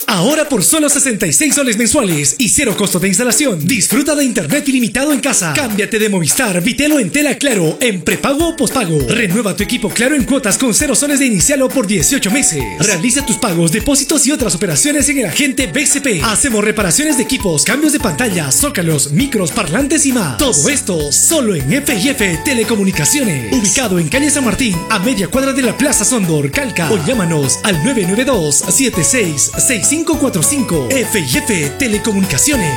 Ahora por solo 66 soles mensuales y cero costo de instalación. Disfruta de internet ilimitado en casa. Cámbiate de Movistar, Bitel o Entel a Claro en prepago o pospago. Renueva tu equipo Claro en cuotas con 0 soles de inicial o por 18 meses. Realiza tus pagos, depósitos y otras operaciones en el agente BCP. Hacemos reparaciones de equipos, cambios de pantalla, zócalos, micros, parlantes y más. Todo esto solo en F&F Telecomunicaciones. Ubicado en calle San Martín, a media cuadra de la Plaza Sondor, Calca. O llámanos al 992 76 6545. F&F Telecomunicaciones.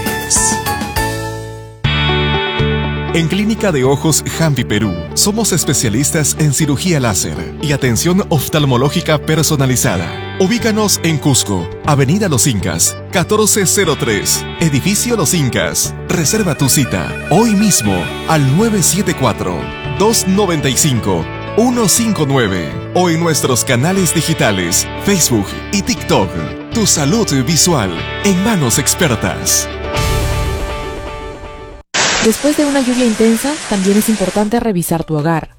En Clínica de Ojos Jambi Perú, somos especialistas en cirugía láser y atención oftalmológica personalizada. Ubícanos en Cusco, Avenida Los Incas, 1403, Edificio Los Incas. Reserva tu cita hoy mismo al 974-295-159 o en nuestros canales digitales, Facebook y TikTok. Tu salud visual en manos expertas. Después de una lluvia intensa, también es importante revisar tu hogar.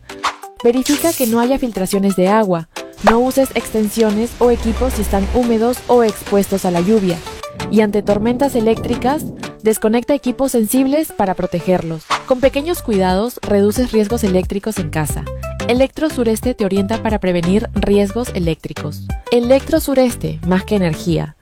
Verifica que no haya filtraciones de agua. No uses extensiones o equipos si están húmedos o expuestos a la lluvia. Y ante tormentas eléctricas, desconecta equipos sensibles para protegerlos. Con pequeños cuidados, reduces riesgos eléctricos en casa. Electro Sureste te orienta para prevenir riesgos eléctricos. Electro Sureste, más que energía.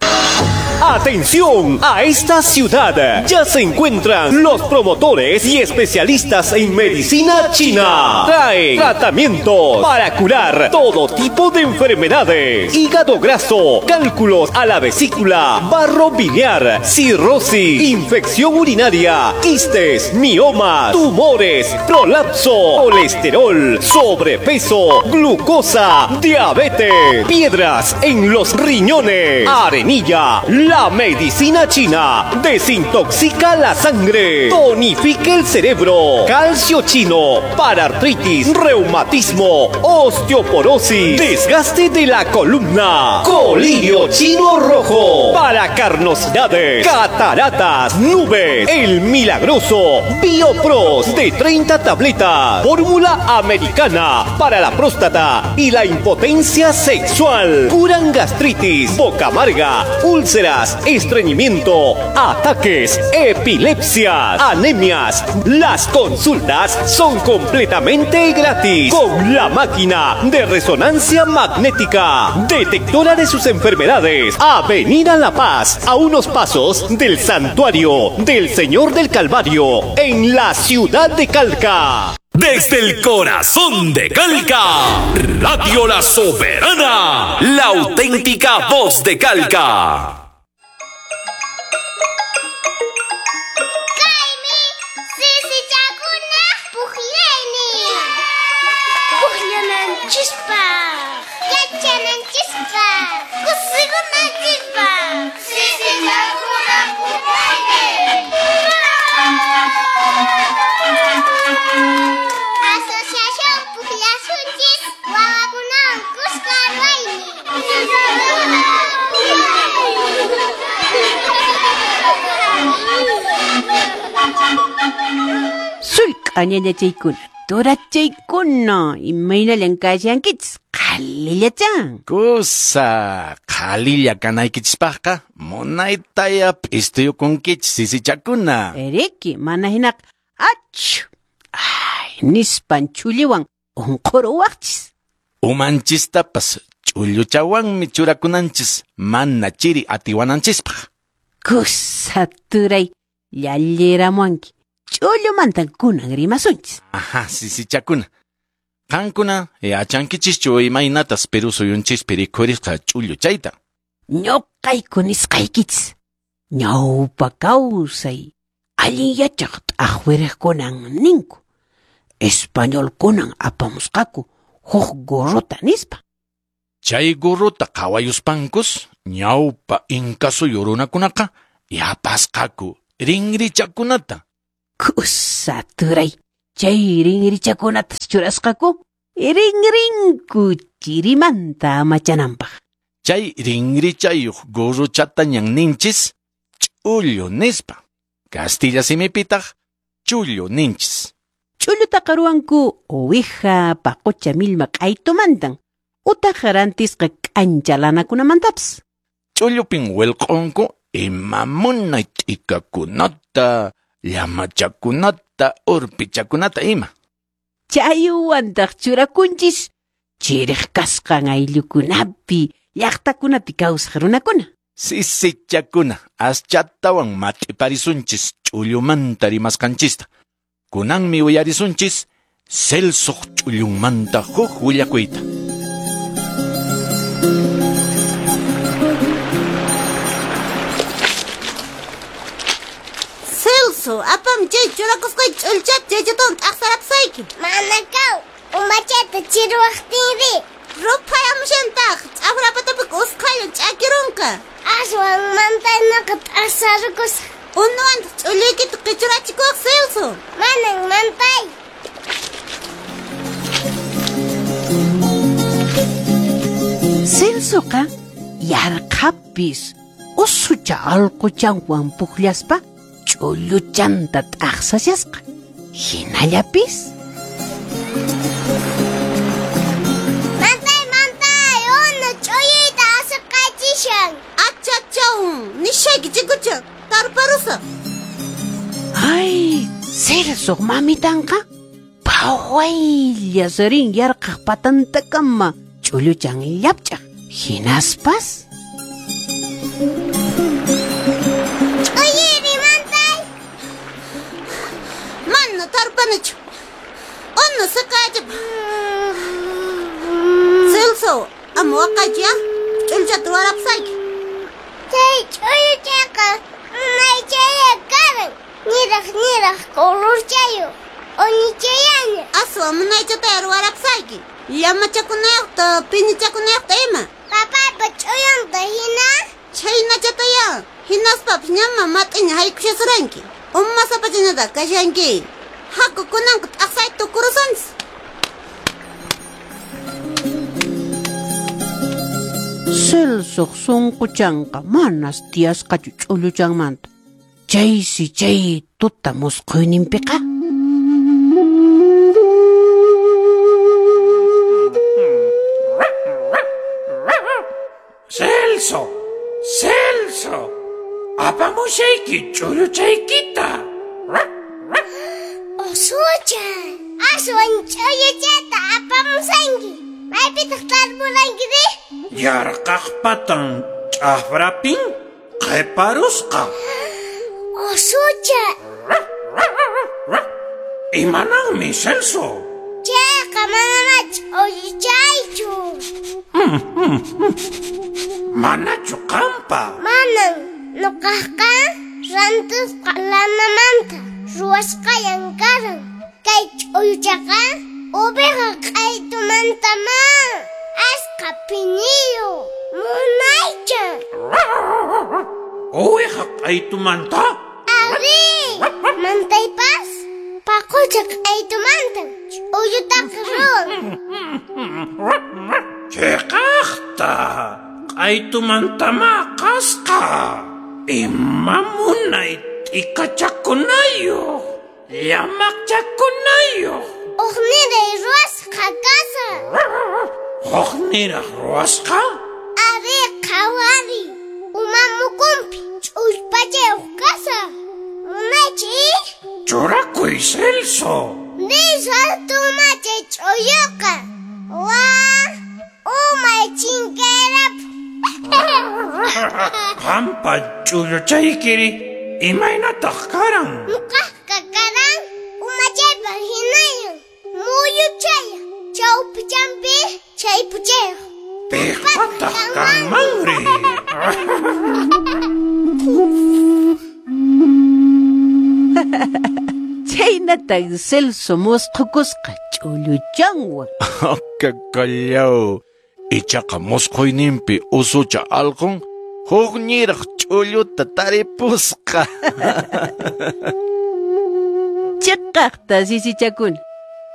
¡Atención! A esta ciudad ya se encuentran los promotores y especialistas en medicina china. Traen tratamientos para curar todo tipo de enfermedades: hígado graso, cálculos a la vesícula, barro biliar, cirrosis, infección urinaria, quistes, miomas, tumores, prolapso, colesterol, sobrepeso, glucosa, diabetes, piedras en los riñones, arenilla. La medicina china desintoxica la sangre, tonifica el cerebro, calcio chino para artritis, reumatismo, osteoporosis, desgaste de la columna, colirio chino rojo para carnosidades, cataratas, nubes, el milagroso Biopros de 30 tabletas, fórmula americana para la próstata y la impotencia sexual, curan gastritis, boca amarga, úlceras, estreñimiento, ataques, epilepsias, anemias. Las consultas son completamente gratis con la máquina de resonancia magnética, detectora de sus enfermedades. Avenida La Paz, a unos pasos del Santuario del Señor del Calvario, en la ciudad de Calca. Desde el corazón de Calca, Radio La Soberana, la auténtica voz de Calca. Sulk'a ñañachaykuna, turachaykuna, imaynallan kashankichis, qhalillachan. Kusa, qhalilla kanaykichispaqqa, munaytaya p'istuyukunkichis sisichakuna. Eriki, mana hinaqa, achu, ay, nispan chulliwan unquruwaqchis. Umanchistapas ch'ulluchawanmi churakunanchis, mana chiri atiwananchispaq. Kusa, turay, llalliramuanki. Ch'ullumantan kunan rimasunchis. Ajá, sisichakuna. Qankuna yachankichischu imaynatas Perú suyunchispi rikhurisqa ch'ullu chayta. Ñuqayku nisqaykichis. Ñawpa kawsay allin yachaq t'aqwiriqkunan ninku. Españolkunan apamusqaku huk gorrota nispa. Chay gorrota qhawayuspankus ñawpa inka suyu runakunaqa yapasqaku rinrichakunata. Kusa turay, chay rinrichakunatas churasqaku, rinrinku chirimanta amachananpaq. Chay rinrichayuq gorrochatañan ninchis ch'ullu nispa. Castilla simipitaq chullu ninchis. Ch'ullutaqa ruwanku uwiha, paqucha millma q'aytumantan, utaq rantisqa k'ancha lanakunamantapas. Ch'ullupin wilq'unku ima munay t'ikakunata, llamachakunata, urpichakunata ima. Chaywantaq churakunchis chiriq kasqan ayllukunapi, llaqtakunapi kawsaq runakuna. Sisichakuna, aschatawan mat'iparisunchis ch'ullumanta rimasqanchista. Kunanmi uyarisunchis Celsoq ch'ullunmanta huk willakuyta. Celso, apam chay churakusqay ch'ullchata chaychatawan t'aqsarapusayki. Manakaw, umachata chiruwaqtinri. Ruphayamushantaq, ch'afrapatapiqa usqhaylla ch'akirunqa. Aswan mantaynaqa t'aqsarukusaq. Unuwantaq ch'ulluykita qichurachikuwaq, Celso. Manan mantay. Celsoqa yarqhapis usucha allquchanwan puqllaspa ch'ulluchanta t'aqsashasqa. Hinallapis. Mantay, mantay, unu ch'ulluyta asirqachishan. Achachaw, nishayki chikucha, tarparusaq. Ay, Celsoq mamitanqa phawaylla rin yarqhaq patantakama ch'ulluchan llapch'aq. Hinaspas Ch'ulluyri mantay. Mana tarpanichu. Unu siqayachip. Celso, ama waqaychu ya. Ch'ulluchata ruwarapusayki. Chay ch'ulluchaqa munaychaya karan. Niraq niraq colorchayuq. Unichayaña. Aswan munaychataya ruwarapusayki. Llamachakunayuqta, pinichakunayuqta ima. Papaypa ch'ullunta hina. Chhaynachataya. Hinaspapas ñama mat'iña haykushasuranki. Umasapachinata kashanki. Haku kunanqa t'aqsayta tukurusunchis. Celsoq sunquchanqa manas tiyasqachu ch'ulluchanmanta. Chaysi chay tuta musqhuyninpiqa. Celso, Celso, apamushayki ch'ulluchaykita. Usucha, aswan ch'ulluchata apamusanki. Maypitaq tarpurankiri? Yarqhaq patan ch'afrapin qhiparusqa. Usucha. Imananmi, Celso? Chayqa manamá ch'ulluchaychu. Manachu qampa? Manan, nuqaqqa rantisqa lanamanta ruwasqayan karan. Kay ch'ulluchaqa uwiha q'aytumantamá asqa piniyuq munaycha. Uwiha q'aytumanta? Ari, mantaypas paqucha q'aytumantan ch'ullutaqa ruwan. Chiqaqta q'aytumantamá qasqa. Ima munay t'ikachakunayuq, llamaqchakunayuq. Uqniray ruwasqa kasa. Huqniraq ruwasqa? Ari, qhawari. Uma mukunpi ch'ullpachayuq kasa. Munaychi? Churakuy, Celso. Nisha chay ch'ulluqa. Wa, umay chinkayrap. Qampa ch'ulluchaykiri imaynataq karan? Nuqaqqa karan umachaypa hinayan. Muyuchaya, chawpichampi chaypuchayuq. Piqpataq kanmanri? Chhaynatan Celso musqhukusqa ch'ulluchanwan. Kakallaw. Ichaqa musqhuyninpi usucha allqun huk niraq ch'ulluta taripusqa. Chiqaqta sisichakuna.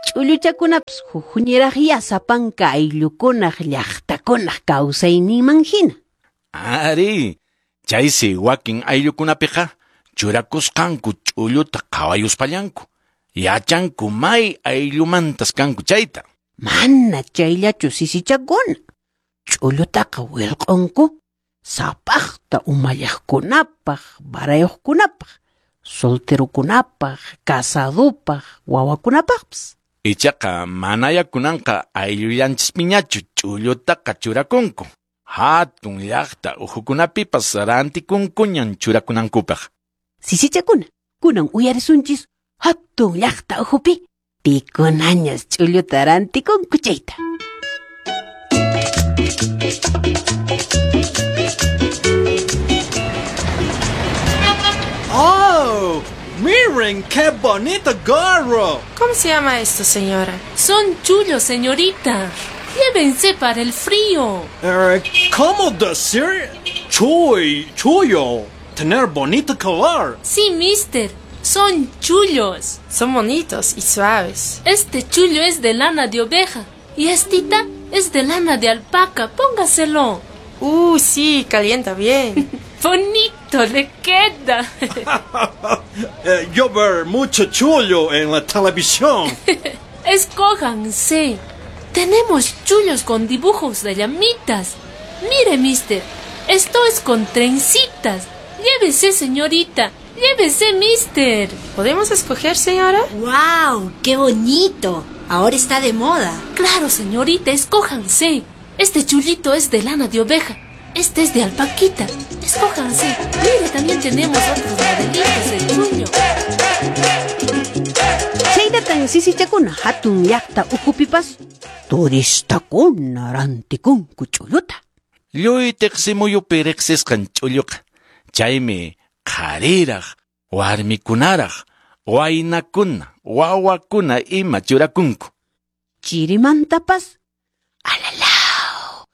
Ch'ulluchakunapas hukniraqya sapanka ayllukunaq llaqtakunaq kawsayninman hina. Ari, chaysi wakin ayllukunapiqa churakusqanku ch'ulluta qhawayuspallanku. Yachanku may ayllumantas kanku chayta. Mana chayllachu sisichakuna. Ch'ullutaqa wilq'unku Sapaqta umalliqkunapaq, barayuqkunapaq, solterokunapaq, casadopaq, wawakunapaqpas. Ichaqa manaya kunanqa ayllullanchispiñachu ch'ullutaqa churakunku. Hatun llaqta uhukunapipas rantikunkuñan churakunankupaq. Sisichakuna, kunan uyarisunchis hatun llaqta uhupi pikunañas ch'ulluta rantikunku chayta. ¡Oh! ¡Miren qué bonito gorro! ¿Cómo se llama esto, señora? Son chullos, señorita. Llévense para el frío. ¿Cómo decir? Chuy, chullo. Tener bonito color. Sí, mister. Son chullos. Son bonitos y suaves. Este chullo es de lana de oveja y estita es de lana de alpaca. Póngaselo. Sí, calienta bien. Bonito le queda. Yo veo mucho chullo en la televisión. Escójanse. Tenemos chullos con dibujos de llamitas. Mire, mister, esto es con trencitas. Llévese, señorita. Llévese, mister. ¿Podemos escoger, señora? ¡Guau! ¡Qué bonito! Ahora está de moda. Claro, señorita, escójanse. Este chullito es de lana de oveja. Este es de alpaquita. Escójanse. Mire, también tenemos otros modelitos de chullo. Chaynatan sisichakuna hatun llaqta ukhupipas turistakuna rantikunku ch'ulluta. Lluy tiqsimuyupi riqsisqan ch'ulluqa. Chaymi qhariraq, warmikunaraq, waynakuna, wawakuna ima churakunku. Chirimantapas alalaw,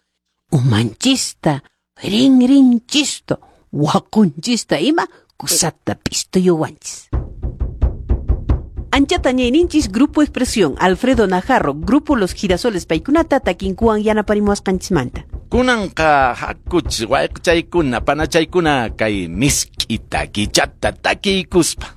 umanchista, rinrinchista, waqunchista ima kusata pistuyuwanchis. Anchata ñayninchis Grupo Expresión, Alfredo Najarro, Grupo Los Girasoles paykunata takinkuwan yanaparimuwasqanchismanta. Kunanqa hakuch wayqchaykuna panachaykuna kay misk'i takichata takiykuspa.